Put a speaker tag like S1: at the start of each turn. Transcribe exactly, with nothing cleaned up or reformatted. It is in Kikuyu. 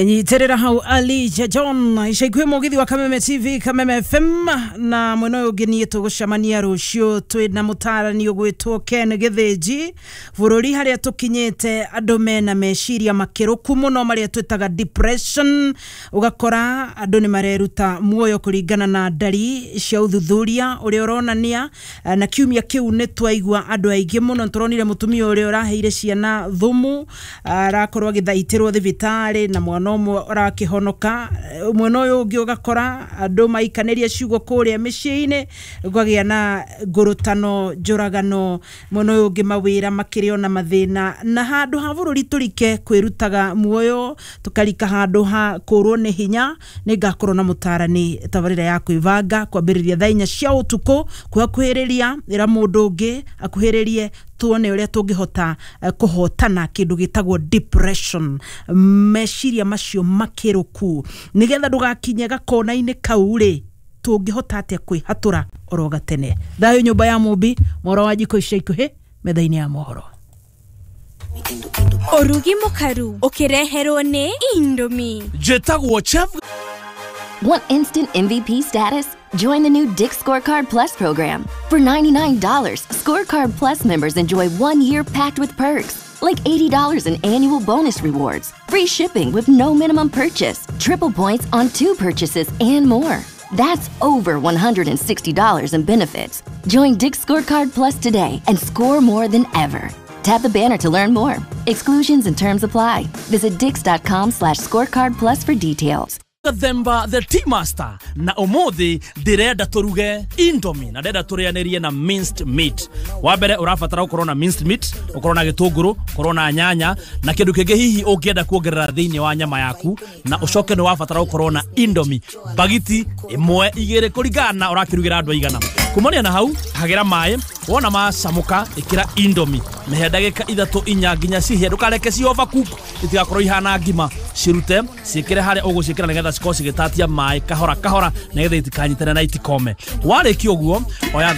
S1: Nyitirira hau Alija John ica ikuhĩ mũgithi wa Kameme T V, Kameme F M, na mwena ũyũ ũngĩ niĩ tũgũcemania rũciũ twĩna mũtarani ũgwĩtwo Ken Gĩthĩnji. Bũrũri harĩa tũkinyĩte, andũ mena meciria makĩrũku mũno marĩa twĩtaga depression. Ũgakora andũ nĩ mareruta muoyo kũringana na ndari cia ũthuthuria ũrĩa ũronania. eh, na kiumia kĩu nĩ twaigua andũ aingĩ mũno. Tũronire mũtumia ũrĩa ũraheire ciana thumu, arakorwo agĩthaitĩrwo thibitarĩ na mwana ũmwe ũrakĩhonoka. Eh, mwena ũyũ ũngĩ ũgakora andũ maikanĩria ciugo kũrĩa mĩciĩ-inĩ, gũkagĩa na ngũrũtano, njũragano. Mwena ũyũ ũngĩ mawĩra makĩrĩ ona mathĩna, na handũ ha bũrũri tũrike kwĩrutaga muoyo, tũkarika handũ ha kũrwo nĩ hinya. Nĩ ngakorwo na mũtarani tabarĩra ya kwĩbanga kwambĩrĩria thaa inya cia ũtukũ kwĩhakuhĩrĩria. Ĩra mũndũ ũngĩ akuhĩrĩrie tuone ũrĩa tũngĩhota eh, kũhotana kĩndũ gĩtagwo depression, meciria macio makĩrũku, nĩgetha ndũgakinye gakona-inĩ kau rĩ, tũngĩhota atĩa kwĩhatũra oro gatene. Thayũ nyũmba ya mũmbi moro wa njiko ica ikuhĩ metha-inĩ ya mohoro.
S2: Ũrugi mũkaru ũkĩreherwo nĩ Indomie.
S3: Njĩtagwo Chef.
S4: Want instant M V P status? Join the new Dick's Scorecard Plus program. For ninety-nine dollars Scorecard Plus members enjoy one year packed with perks, like eighty dollars in annual bonus rewards, free shipping with no minimum purchase, triple points on two purchases, and more. That's over one hundred sixty dollars in benefits. Join Dick's Scorecard Plus today and score more than ever. Tap the banner to learn more. Exclusions and terms apply. Visit dicks dot com slash scorecard plus for details.
S3: Gathemba the Tea Master, na ũmũthĩ ndĩrenda tũruge Indomie na ndĩrenda tũrĩanĩrie na minced meat. Wa mbere ũrabatara gũkorwo na minced meat, ũkorwo na gĩtũngũrũ, ũkorwo na nyanya na kĩndũ kĩngĩ hihi ũngĩenda kuongerera thĩinĩ wa nyama yaku, na ũcoke nĩ wabatara gũkorwo na Indomie bagiti ĩmwe, igĩrĩ, kũringana na ũrakĩrugĩra andũ aigana. Kumania na hau, hagĩra maĩ, wona macamũka ĩkĩra Indomie, mĩhe ndagĩka ithatũ, inya nginya cihĩe. Ndũkareke ci overcook, itigakorwo ihana ngima. Cirute, ciĩkĩre harĩa ũgũciĩkĩra nĩgetha cikorwo cigĩtatia maĩ kahora kahora, nĩgetha itikanyitane na itikome. Warĩkia ũguo, oya.